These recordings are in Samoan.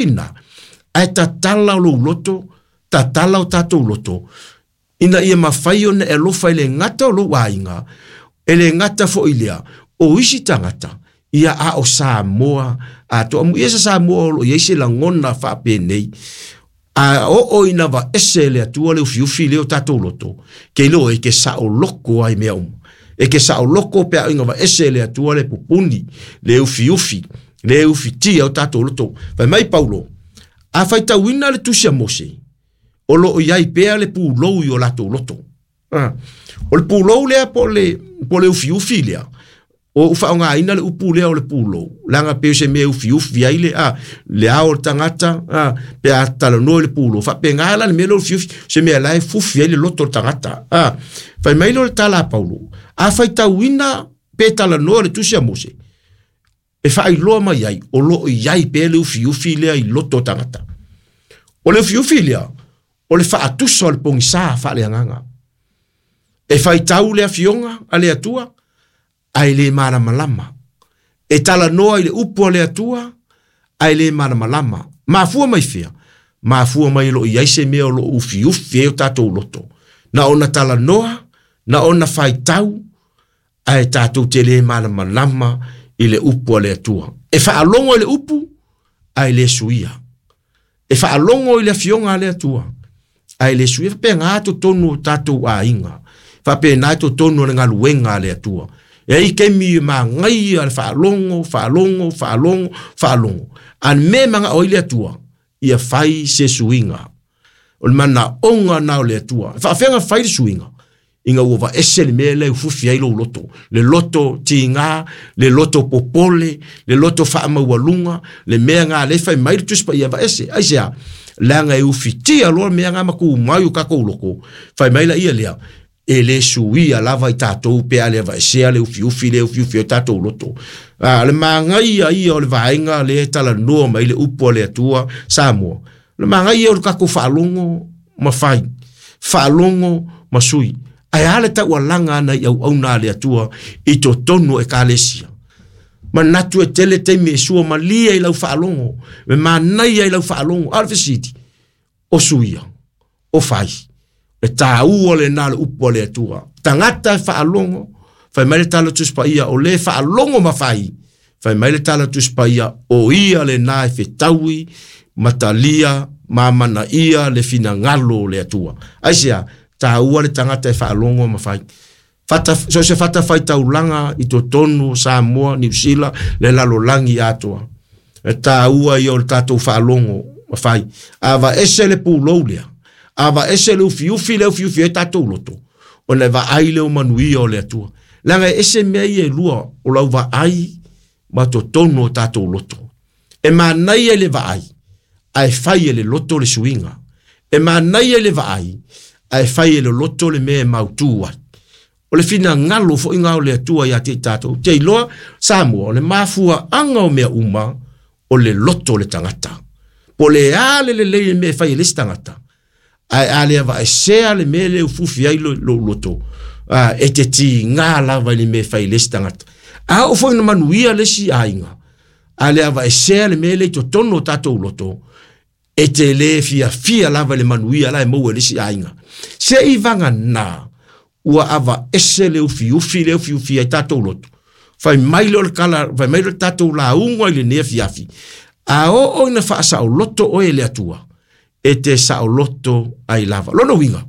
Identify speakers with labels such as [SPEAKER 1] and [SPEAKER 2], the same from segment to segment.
[SPEAKER 1] lena, ae tatala o lou loto, tatala o tatou loto, ina ia mafai ona e alofa e le gata o lou aiga, e le gata foi lea, o isi tagata, ia a o Samoa atoa. Amuia se Samoa o lo o i ai se lagona faapenei, a oo ina vaese e le Atua le ufiufi lea o tatou loto, ke iloa e ke saoloko ai mea uma. E ke saoloko pe a ina vaese e le Atua le pupuni, le ufiufi, le ufitia o tatou loto. Fai mai Paulo, a faitauina le tusi a Mose, o lo o i ai pea le pulou i o latou loto. O le pulou lea po o le ufiufi lea, o ou faaaogaina le upu lea o le pulou, leaga pei o se mea e ufiufi ai le, le ao o le tagata, pe a talanoa i le pulou, faapena la le mea lea o le ufiufi, se mea la e fufi ai le loto o le tagata. Fai mai lea o le tala a Paulo, a faitauina pe talanoa le tusi a Mose, e faailoa mai ai, o lo o i ai pea le ufiufi lea i loto o tagata. O le ufiufi lea, o le faatusa o le pogisa faaleagaga. E faitau le afioga a le Atua, ae le malamalama. E talanoa i le upu a le Atua, ae le malamalama. Mafua mai fea? Mafua mai o lo o i ai se mea o lo o ufiufi ai o tatou loto. Na ona talanoa, na ona faitau, ae tatou te le malamalama i le upu a le Atua. E faalogo i le upu, ae le suia. E faalogo i le afioga a le Atua, ae le suia. Faapena totonu o tatou aiga, faapena totonu o le galuega a le Atua. E ai taimi e magaia le faalogo, faalogo, faalogo, faalogo. A le mea e manao ai le Atua, ia fai se suiga. O le manaoga na o le Atua. E faafefea fai le suiga? Ina ua vaese le mea lea e ufiufi ai lou loto. Le loto tiga, le loto popole, le loto faamaualuga, le mea ngā le fai mai le Tusi Paia vaese. Aisea? Leaga e ufitia loa mea ngā ma tumau i o tatou loko. Fai mai la ia lea, e le suia lava i tatou pe a le vaesea le ufiufi le ufiufi o tatou loto. Le magaia ia o le vaega le talanoa mai le upu a le Atua Samoa. Le magaia o le tatou faalogo ma fai, faalogo ma sui. Ae a le taualaga ana i auauna a le Atua i totonu o ekalesia. Manatu e tele taimi e sua malie i lau faalogo, e manaia i lau faalogo. A o le fesili, o suia, o fai. E tāua lena le upu a le Atua. Tagata e faalogo, fai mai le tala Tusi Paia, o le faalogo ma fai. Fai mai le tala Tusi Paia, o ia lena e fetaui, matalia, ma manaia le finagalo o le Atua. Aisea, tāua le tagata e faalogo ma fai. Fata, so se fata faitaulaga i totonu o Samoa, Niu Sila, le lalolagi atoa. E tāua ia o le tatou faalogo ma fai. A vaese le pulou lea, a vaese le ufiufi le ufiufi ai tatou loto, ona e vaai lea o manuia o le Atua. Leaga e ese mea ia e lua o lau vaai ma totonu o tatou loto. E manaia i le vaai, ae fai e le loto le suiga. E manaia i le vaai, ae fai e le loto le mea e mautu ai. O le finagalo foi ngā o le Atua ia te i tatou. Te iloa, Samoa, o le mafuaanga o mea uma, o le loto o le tagata. Po o le a le lelei le mea e fai e le isi tagata, ae a le avaesea le mea lea e ufiufi ai lou loto, e te tiga lava i le mea e fai e le isi tagata. A oo foi ina manuia le isi aiga, a le avaesea le mea lea i totonu o tatou loto, e te le fiafia lava i le manuia la e maua e le isi aiga. Se i vagana ua avaese le ufiufi le ufiufi ai tatou loto. Fai mai lea o le tala, fai mai lea o le tatou lauga i lenei afiafi. A oo ina faasaoloto oe e le Atua, e te saoloto ai lava. Lona uiga,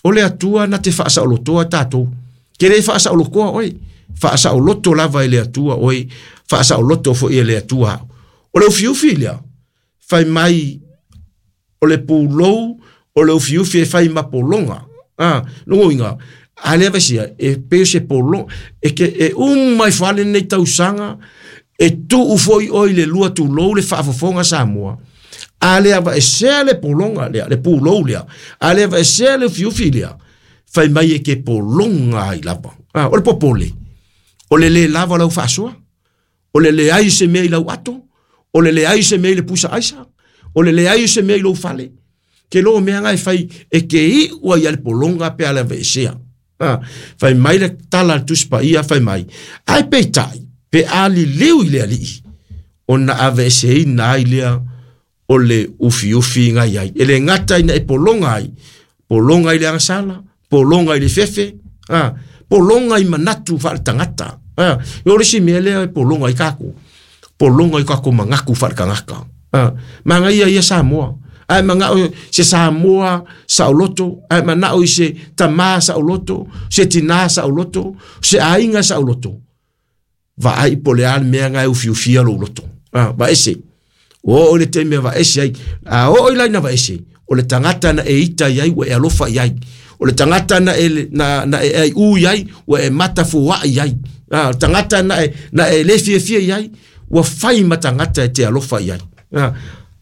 [SPEAKER 1] o le Atua na te faasaolotoa tatou. Ke le faasaolotoa oe, faasaoloto lava e le Atua oe, faasaoloto foi e le Atua au. O le ufiufi lea, fai mai o le pulou, o le ufiufi e fai ma pologa. Lona uiga, a lea vaisia, e pei o se pologa, e ke, e uma ifo lava lenei tausaga, e tuu foi oe i le lua tulou le faafofoga Samoa. A le avaesea le pologa lea, le pulou lea, a le avaesea le ufiufi lea, fai mai e ke pologa ai lava. O le popole, o le le lava o lau faasoa, o le leai o se mea i lau ato, o le leai o se mea i le pusa aisa, o le leai o se mea i lou fale. Ke loo mea nga e fai e ke iu ai a le pologa pe a le aveesea. Fai mai le tala a le Tusi Paia, fai mai, ae peitai, pe a liliu i le Alii, ona aveeseina ai lea o le ufiufi ga i ai. E le gata ina e pologa ai, pologa i le agasala, pologa i le fefe, a, pologa i manatu faaletagata. A, o le isi mea lea e pologa ai tatou, pologa i tatou manatu faaletagata. A, manaia ia Samoa. Ae manao se Samoa saoloto, ae manao i se tamā saoloto, se tinā saoloto, se aiga saoloto. Vaai po o le a le mea na e ufiufia lou loto. A, vaese. Ua oo i le taimi e vaese ai. A oo i la ina vaese, o le tagata na e ita i ai ua e alofa i ai. O le tagata na e, na e aiʻū i ai, ua e matafoaʻi i ai. A, o le tagata na e le fiafia i ai, ua fai ma tagata e te alofa i ai. A,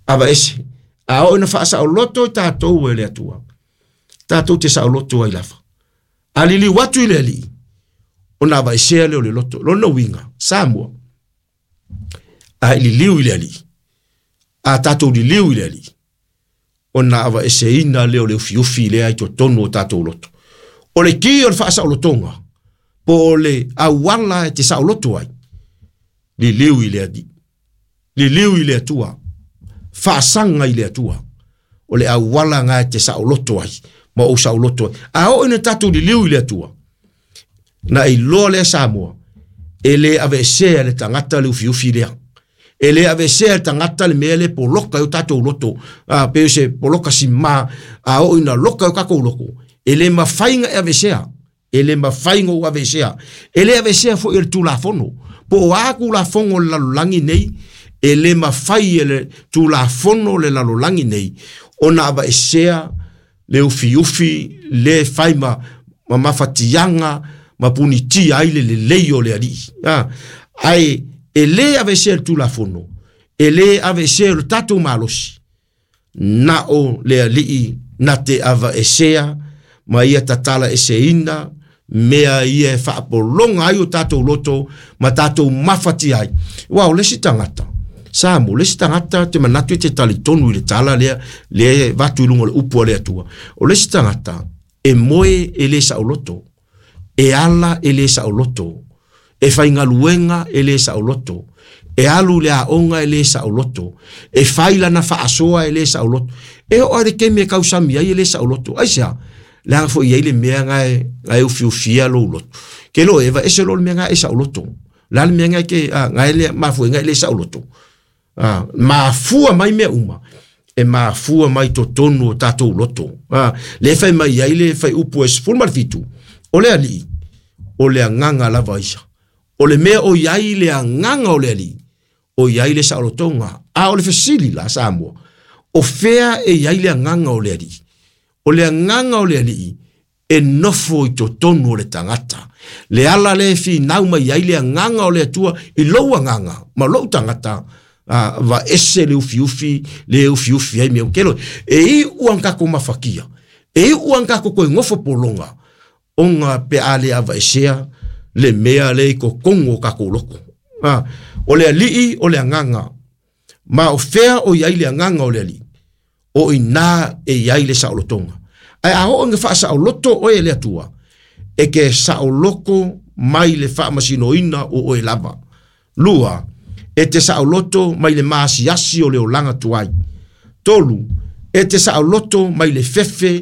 [SPEAKER 1] a vaese. A oo ina faasaoloto i tatou e le Atua, tatou te saoloto ai lava. A liliu atu i le Alii, ona avaesea lea o le loto. Lona uiga, Samoa, a e liliu i le Alii, a tatou liliu i le Alii, ona avaeseina lea o le ufiufi lea i totonu o tatou loto. O le ki o le faasaolotoga, po o le auala e te saoloto ai, liliu i le Alii. Liliu i le Atua, faasaga i le Atua, o le auala na e te saoloto ai, ma ou saoloto ai. A oo ina tatou liliu i le Atua, na iloa lea Samoa, e le aveesea e le tagata le ufiufi lea. E le aveesea e le tagata le mea lea e poloka ai o tatou loto, a, pei o se poloka simā, a oo ina loka ai o tatou loto, e le mafai ona e aveesea. E le mafai ona ou aveesea. E le aveesea foi e le Tulafono. Po o a Tulafono o le lalolagi nei, e le mafai e le Tulafono o le lalolagi nei ona aveesea le ufiufi le fai ma, ma mafatiaga ma punitia ai le lelei o le alii. A, ae e le aveesea e le Tulafono, e le aveesea e lo tatou malosi, na o le Alii na te avaesea ma ia tatala eseina mea ia e faapologa ai o tatou loto ma tatou mafatia ai. Aua o le isi tagata, Samoa, o le isi tagata te manatu e te talitonu i le tala lea, lea e avatu i luga o le upu a le Atua. O le isi tagata, e moe e le saoloto, e ala e le saoloto, e faigaluega e le saoloto, e alu i le aoga e le saoloto, e fai lana faasoa e le saoloto. E oo lava i le taimi e tausami ai e le saoloto. Aisea? Leaga foi e i ai le mea na e, na e ufiufia lou loto. Ke loa e vaese loa le mea na e saoloto. O le a le mea na e ke, a, na e le, mafua ai na e le saoloto. A, mafua mai mea uma, e mafua mai totonu o tatou loto. A, lea e fai mai ai le fuaiupu e 17, o le Alii, o le agaga lava ia. O le mea o i ai le agaga o le Alii, o i ai le saolotoga. A o le fesili la Samoa, o fea e i ai le agaga o le Alii? O le agaga o le Alii, e nofo i totonu o le tagata. Le ala lea e finau mai ai le agaga o le Atua i lou agaga ma lou tagata, a, vaese le ufiufi, le ufiufi ai mea kelo. E iu a kako mafakia, e iu a kako koe ngofo pologa, ona pe a le avaesea le mea le i totonu o tatou loko. A, o le Alii o le agaga, ma o fea o i ai le agaga o le Alii? O i inā e i ai le saolotoga. Ae a oo ina faasaoloto oe e le Atua, e ke saoloko mai le faamasinoina o oe lava. Lua, e te saoloto mai le maasiasi o le olaga tuai. Tolu, e te saoloto mai le fefe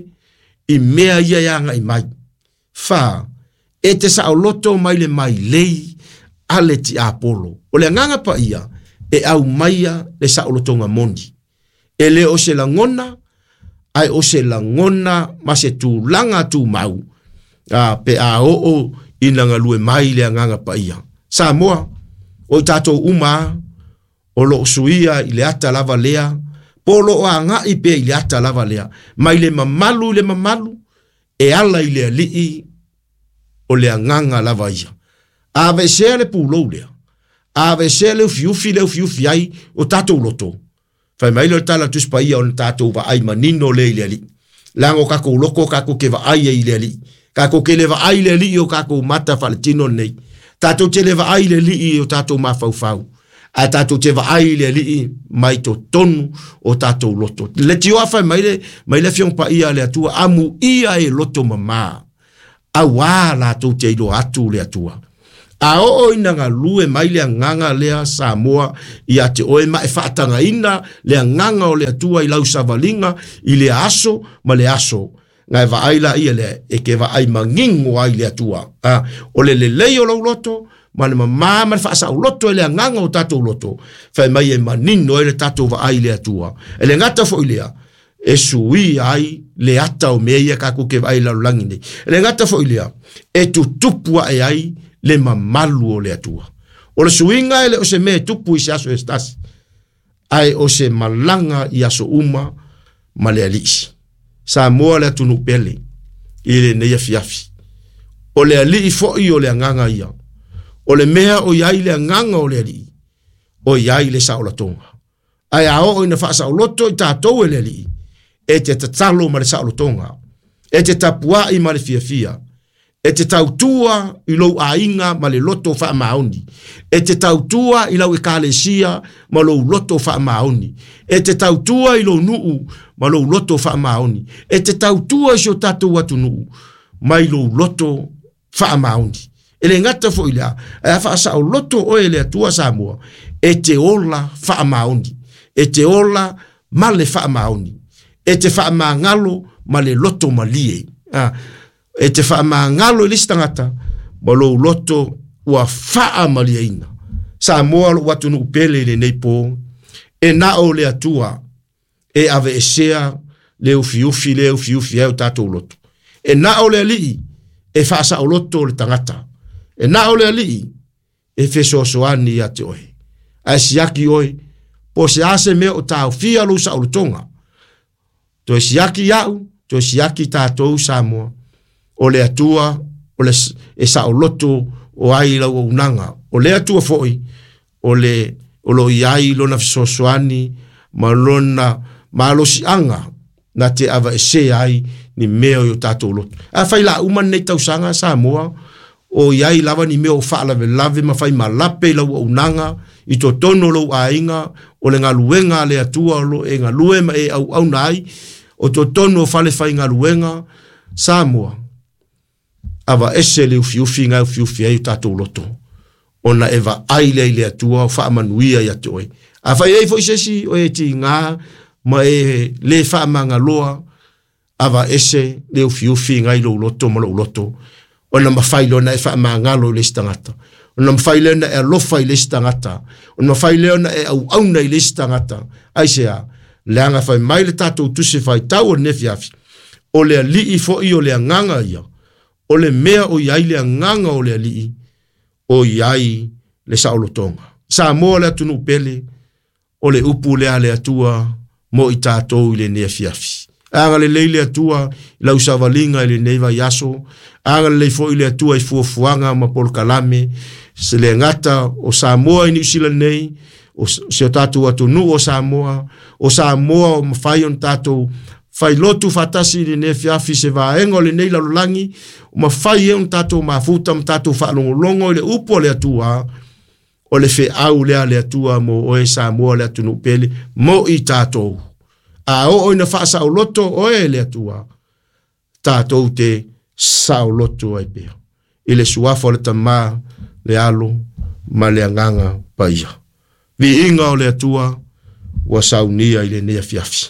[SPEAKER 1] i mea ia e agai mai. Fa, e te saoloto mai le mailei a le tiapolo. O le agaga paia e aumaia le saolotoga moni. E le o se lagona, ae o se lagona ma se tulaga tumau, a, pe a oo ina galue mai le agaga paia. Samoa, o i tatou uma a, o lo o suia i le ata lava lea, po o lo o agai pea i le ata lava lea, mai le mamalu i le mamalu, e ala i le Alii, o le agaga lava ia. A aveesea le pulou lea, a aveesea le ufiufi lea e ufiufi ai o tatou loto, fai mai lea o le tala a le Tusi Paia ona tatou vaai manino lea i le Alii. Leaga o tatou loto tatou te vaai ai i le Alii. Tatou te le vaai i le Alii i o tatou mata faaletino lenei. Tatou te le vaai i le Alii i o tatou mafaufau. Ae tatou te vaai i le Alii mai totonu o tatou loto. Leitioa fai mai le, mai le Afioga Paia a le Atua, amuia e loto mamā, auā latou te iloa atu le Atua. A oo ina galue mai le agaga lea Samoa ia te oe ma e faatagaina le agaga o le Atua i lau savaliga i le aso ma le aso. Na e vaai laia lea e te vaai manino ai le Atua. O le lelei o lou loto ma le mamā ma le faasaoloto e le agaga o tatou loto, fai mai e manino ai le tatou vaai i le Atua. E le gata foi lea, e suia ai le ata o mea ia tatou te vaai i le lalolagi nei. E le gata foi lea, e tutupu ae ai le mamalu o le Atua. O le suiga e le o se mea e tupu i se aso e tasi, ae o se malaga i aso uma ma le Alii. Samoa le atunuu pele i lenei afiafi. O le Alii foi o le agaga ia. O le mea o i ai le agaga o le Alii, o i ai le saolatoga. Ae a oo ina faasaoloto i tatou e le Alii, e te tatalo ma le saolotoga, e te tapuai ma le fiafia, e te tautua i lou aiga ma le loto faamaoni, e te tautua i lau ekalesia ma lou loto faamaoni, e te tautua i lou nuu ma lou loto faamaoni, e te tautua i si o tatou atunuu mai lou loto faamaoni. E le gata foi lea, ae a faasaoloto oe e le Atua Samoa, e te ola faamaoni, e te ola ma le faamaoni, e te faamagalo ma le loto malie. E te faamagalo i le isi tagata ma lou loto ua faamalieina. Samoa lou atunuu pele i lenei po, e na o le Atua e aveesea le ufiufi le ufiufi ai o tatou loto. E na o le Alii e faasaoloto le tagata. E na o le Alii e fesoasoani ia te oe. Ae siaki oe, po se a se mea o taofia lou saolotoga. Toe siaki au, toe siaki tatou Samoa. O le Atua o le e saoloto o ai lau auaunaga. O le Atua foi o le o lo o i ai lona fesoasoani ma lona malosiaga na te aveesea ai ni mea o tatou loto. A fai la uma nei tausaga Samoa, o i ai lava ni mea o faalavelave ma fai malape i lau auaunaga, i totonu o lou aiga, o le galuega a le Atua o lo e galue ma e auauna ai, o totonu o fale faigaluega, Samoa, aveese le ufiufi na e ufiufi ai o tatou loto, ona e vaai lea i le Atua o faamanuia ia te oe. A fai ai foi se isi o e tiga ma e le faamagaloa, aveese le ufiufi ngai lou loto ma lou loto, ona mafai lea ona e faamagalo i le isi tagata, ona mafai lea ona e alofa i le isi tagata, ona mafai lea ona e auauna i le isi tagata. Aisea? Leaga fai mai le tatou tusi faitau o lenei afiafi, o le Alii foi o le agaga ia, o le mea o i ai le agaga o le Alii, o i ai le saolotoga. Samoa le atunuu pele, o le upu lea a le Atua mo i tatou i lenei afiafi. Agalelei le Atua i lau savaliga i lenei vaiaso, agalelei foi le Atua i fuafuaga ma polokalame, se le gata o Samoa i Niu Sila nei, o se o tatou atunuu o Samoa, o Samoa o mafai ona tatou failotu faatasi i lenei afiafi se vaega o lenei lalolagi, o mafai e ona tatou mafuta ma tatou faalogologo i le upu a le Atua, o le feau lea a le Atua mo oe Samoa le atunuu pele, mo i tatou. A oo ina faasaoloto oe e le Atua, tatou te saoloto ai pea. I le suafa o le Tama, le Alo ma le Agaga Paia. Viiga o le Atua ua saunia i lenei afiafi.